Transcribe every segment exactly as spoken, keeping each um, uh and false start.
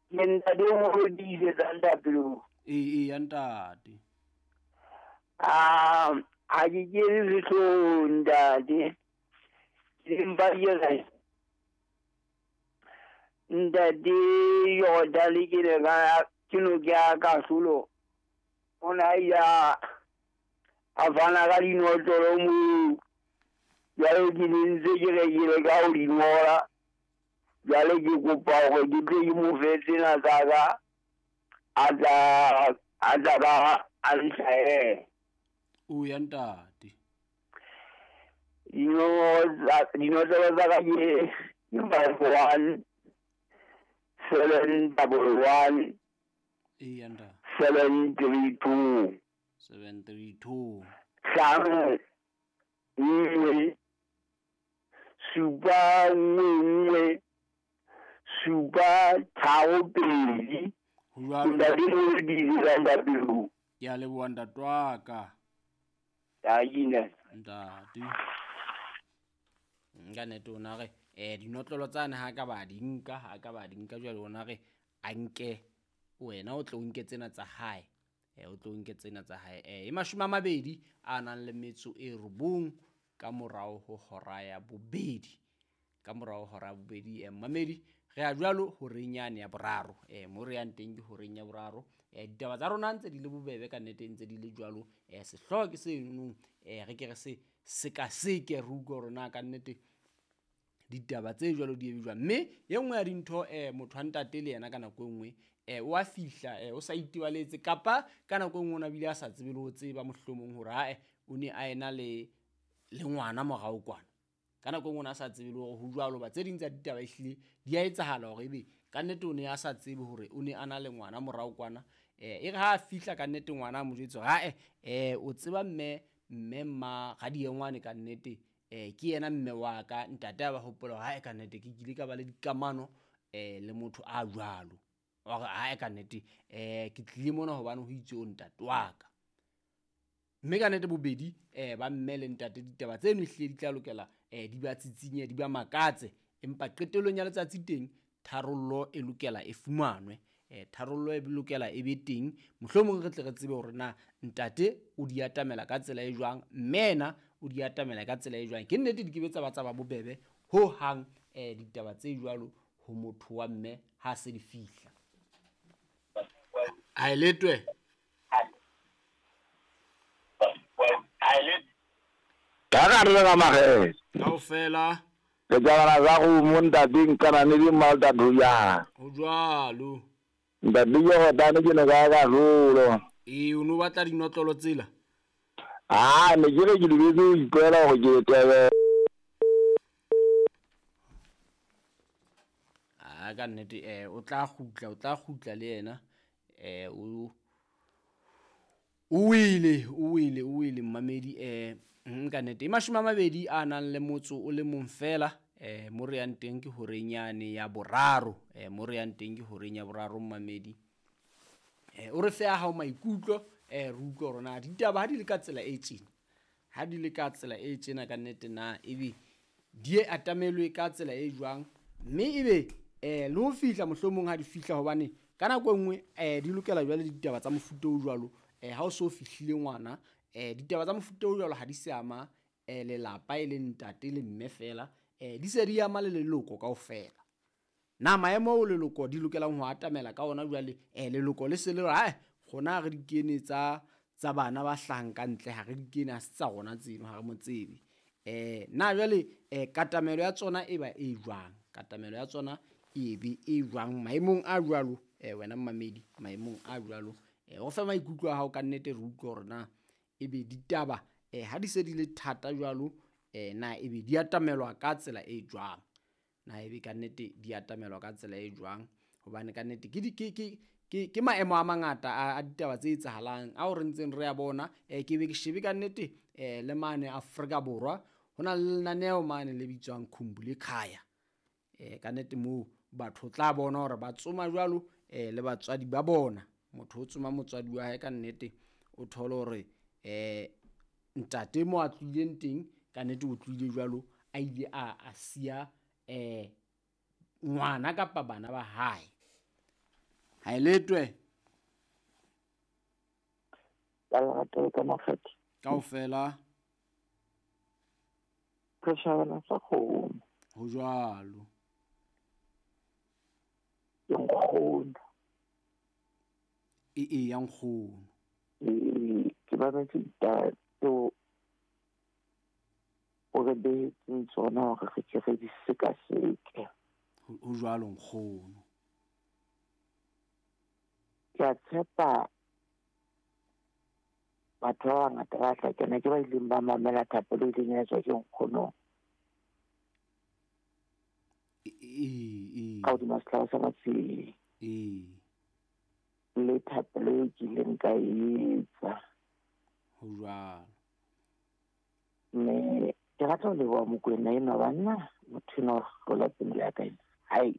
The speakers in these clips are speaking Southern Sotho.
Ke ntate o mo tiisetsa ntapelo. Ee, ee, ya ntate. Ah, ha ke kene sehloohong ntate. Ke mpa ke re ntate Jordan ke ne ka ke no ke ya kahlolo. O ne a ile a a fana ka dinotlolo moo. Jwale ke ne ntse ke re ke leka ho di ngola. Jwale ke kopa hore ke tle ke mo fe tsena tsa ka a tla a tla ba a nhlahele. O ya ntate. Dinotlolo tsa ka ke ke five one seven double one Ee, ya ntate. seven three two Seven three two. hlano nngwe supa nngwe nngwe supa tharo pedi. Ho jwalo Ntate o di ntate. Ke a leboha ntate wa ka. Ntate. Ntate. Nka nnete o na re eh dinotlolo tsane ha ka ba di nka, ha ka ba di nka jwale o na re a nke wena o tlo nke tsena tsa hae. Eh o tlo nke tsena tsa hae. Eh e mashome a mabedi a nang le metso e robong ka morao ho hora ya bobedi. Ka morao ho hora ya bobedi eh mmamedi re a jwalo horeng yane ya boraro. Eh mo re yang teng ke horeng ya boraro. Eh ditaba tsa rona ntse di le bobebe ka nnete ntse di le jwalo. Eh sehlooho ke seno eh re ke re se sekaseke re utlwe hore na ka nnete ditaba tse jwalo di ebe jwang. Mme e nngwe ya dintho eh motho wa ntate le yena ka nako e nngwe eh o a fihla eh o sa itebaletse kapa ka nako e nngwe o na bile a sa tsebe le ho tseba mohlomong hore ae o ne a ena le le ngwana morao kwana. Ka nako e nngwe o ne a sa tsebe le hore ho jwalo ba tse ding tsa ditaba ehlile di a etsahala hore ebe ka nnete o ne a sa tsebe hore o ne a na le ngwana morao kwana. Eh e re ha a fihla ka nnete ngwana a mo jwetse hore ae eh o tseba mme mme mma radiengwane ka nnete eh ke yena mme wa ka. Ntate a ba hopola hore hae ka nnete ke kile ka ba le dikamano eh le motho a jwalo. Wa re hae ka nnete eh ke tlile mona hobane ho itse o ntate wa ka. Mme ka nnete bobedi eh ba mme le ntate ditaba tseno ehlile di tla lokela eh di ba tsitsinye di ba makatse, empa qetellong ya letsatsi teng tharollo e lokela e fumanwe. Eh tharollo e lokela e be teng, mohlomong re tle re tsebe hore na ntate o di atamela ka tsela e jwang, mme yena o di atamela ka tsela e jwang. Ke nnete di ke be tsa ba tsa ba bobebe ho hang eh ditaba tse jwalo ho motho wa mme ha se di fihla. A eletwe. Ka gare le ga magele. Kaofela. Ke tsabana za go mo ntate nkana ne di malta duya. Ho jwalo. Ntate Jordan ke ne ka ka rolo. Ee, o no batla dinotlolo tsela? Ah, ne ke re ke lebetse ho ikwela hore ke tebe. Ah, ka nnete eh o tla kgutla, o tla kgutla le yena. Eh o o wele, o wele, o wele mmamedi eh ka nnete. E mashome a mabedi a nang le motso o le mong fela eh mo re yang teng ke horeng yane ya boraro. Eh mo re yang teng ke horeng ya boraro mmamedi. Eh o re fe a hao maikutlo eh re utlwe hore na ditaba ha di le ka tsela e tjena. Ha di le ka tsela e tjena ka nnete na ebe di e atamelwe ka tsela e jwang, mme ebe eh le ho fihla mohlomong ha di fihla hobane ka nako e nngwe eh di lokela jwale ditaba tsa mofuta o jwalo. Eh ha o so fihlile ngwana eh ditaba tsa mofuta o jwalo ha di se ama eh lelapa e le ntate le mme fela, eh di se di ama le leloko kaofela. Na maemo ao leloko di lokelang ho atamela ka ona jwale eh leloko le se le re hai rona re di kene tsa tsa bana ba hlahang ka ntle, ha re di kene ha se tsa rona tseno, ha re mo tsebe. Eh na jwale eh katamelo ya tsona e ba e jwang? Katamelo ya tsona e be e jwang maemong a jwalo? Eh wena mmamedi maemong a jwalo eh o fe maikutlo a hao ka nnete re utlwe hore na ebe ditaba eh ha di se di le thata jwalo eh na ebe di atamelwa ka tsela e jwang? Na ebe ka nnete di atamelwa ka tsela e jwang? Hobane ka nnete ke di ke ke ke ke maemo a mangata a, a ditaba tse etsahalang ao re ntseng re a bona. Eh ke be ke shebe ka nnete eh le mane Afrika Borwa ho na le lenaneo mane le bitswang Khumbule Khaya. Eh ka nnete moo batho tla bona hore ba tsoma jwalo eh le batswadi ba bona. Motho o tsoma motswadi wa hae ka nnete o thole hore eh ntate mo a tlohileng teng ka nnete o tlohile jwalo a ile a a siya eh ngwana kapa bana ba hae. Ha e letwe. Ka lerato le ka makgetho. Kaofela. Re shabana sa kgomo. Ho jwalo. Ke nkgono. E e ya nkgono. Ee, ke mametse ditaba tseo o re behetseng tsona hore re ke re di sekaseke. Ho jwalo nkgono. Ke a tshepa batho ba bangata ba tla kena ke ba ileng ba mamela thapelo e ileng ya etswa ke nkgono. Ee, ka hodima sehlaba sa Matsieng. Ee. Le thapelo eo ke ileng ka etsa. Ho jwalo. Mme ke rata ho leboha Mokoena enwa banna, motho enwa o hlola pelo ya ka ena. Hai.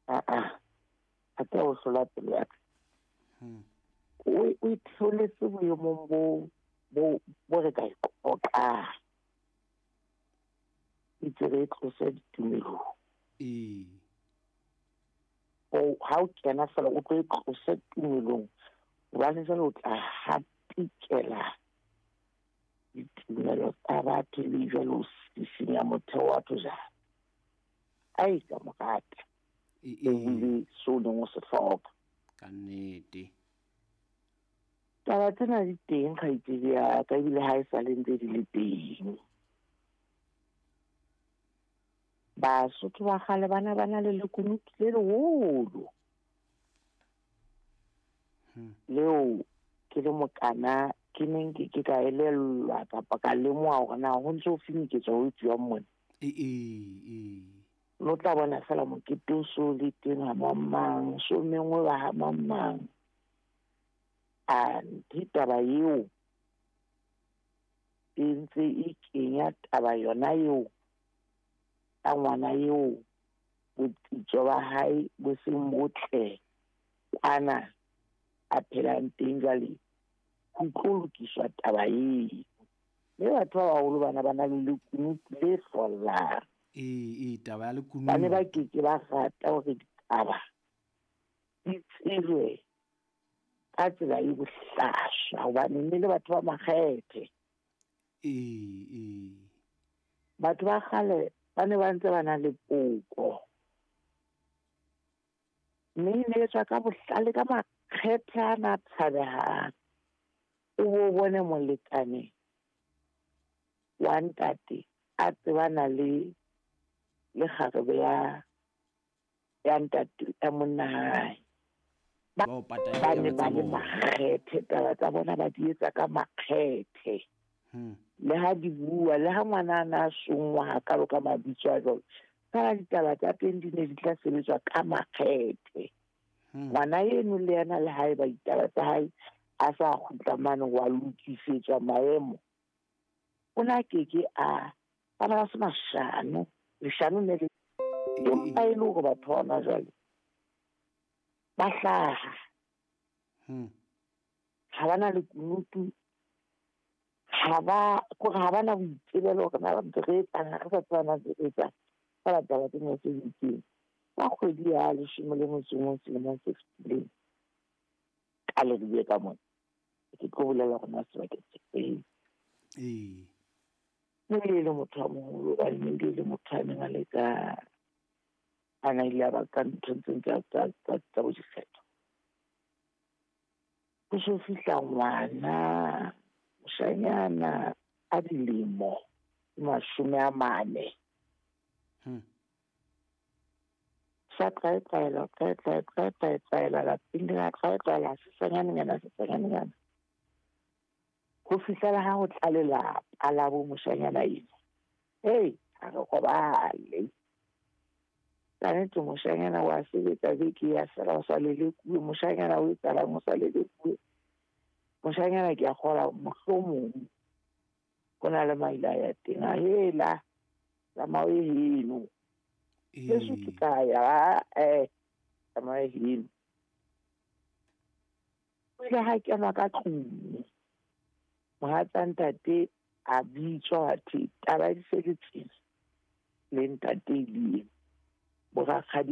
Ah-ah. Hape o hlola pelo ya ka. Hmm. O o itholetse boemong bo bo bo re ka e qoqang. Itse re tlose ditumelong. Ee. O ha o kena fela o tlo e tlose tumelong. Hobane jwale o tla hatikela ditumelo tsa batho ebe jwale o sisinya motheo wa batho jwang. Ai ka mo rata. Ee. Ebile seo o neng o se hloka. Ka nnete. Taba tsena di teng kgaitsedi ya ka, ebile ha e sa le ntse di le teng. Basotho ba kgale bana ba na le lekunutu le leholo. Hmm. Leo ke le mokana ke neng ke ke ka elellwa kapa ka lemoha hore na ho ntso ho finiketswa ho etsuwang mona. Ee, ee. No tla bona fela mokete o so le teng ha mang mang, so mengwe ba ha mang mang. Anthe taba eo e ntse e kenya taba yona eo ka ngwana eo botsitso ba hae bo seng botle kwana a phelang teng jwale ho tlo lokiswa taba eo. Mme batho ba baholo bana ba na le lekunutu le hlollang. Ee, ee, taba ya lekunutu. Ba ne ba keke ba rata hore ditaba di tsejwe ka tsela e bohlaswa hobane mme le batho ba makgethe. Ee, ee. Batho ba kgale ba ne ba ntse ba na le poko. Mme e ne etswa ka bohlale ka makgethe ana a tshabehang. O bo bone molekane wa ntate a tsebana le le kgarebe ya ya ntate ya monna hae. Ba o pata Ba ne ditaba ba tsa le bona. makgethe, taba tsa bona ba di etsa ka makgethe. Hmm. Le ha di bua, le ha ngwana a na songwa hakalo ka mabitso a jwalo, fela ditaba tsa teng di ne di tla sebetswa ka makgethe. Hmm. Ngwana eno le yena le haeba ditaba tsa hae a sa kgutla mane wa lokisetswa maemo, o na keke a ba ne ba se mashano. Leshano ne le empa e le hore batho ba hona jwale ba hlaha. Hmm. Ha ba na lekunutu, ha ba kore ha ba na boitsebelo hore na ntse re etsang, ha re sa tseba na ntse re etsang. Fela taba tsena tse di teng. Ka kgwedi ya leshome le motso o mong selemong se fetileng, ka leribe ka mona, ke tlo bolela hore na sebakeng se feng. Ee. Mme e le motho a moholo hobane ne ebile e le motho a neng a le ka a na ile a ba ka nthong tseng tsa tsa tsa tsa bo dikgetho. Ho so fihla ngwana moshanyana a dilemo mashome a mane. Hmm. Sa tlwaetlwaela, tlwaetlwae, tlwaetlwaela lapeng lena, tlwaetlwaela sesanyanenyana, sesanyanenyana. Ho fihlela ha ho tla lelapa la bo moshanyana eno. Hei, ha re robale. Ka nnete moshanyana wa sebetsa beke ya fela o sa lelekuwe, moshanyana o etsahalang o sa lelekuwe. Moshanyana ke a kgolwa mohlomong ho na le maile a ya teng. A hela, tsamaya o ye heno. Heso ke ka ya, eh, tsamaya heno. O ile ha kenwa ka tlung. Mohatsa ntate a bitswa wa thwe taba di se le tsena le ntate e le ena. Borakgadi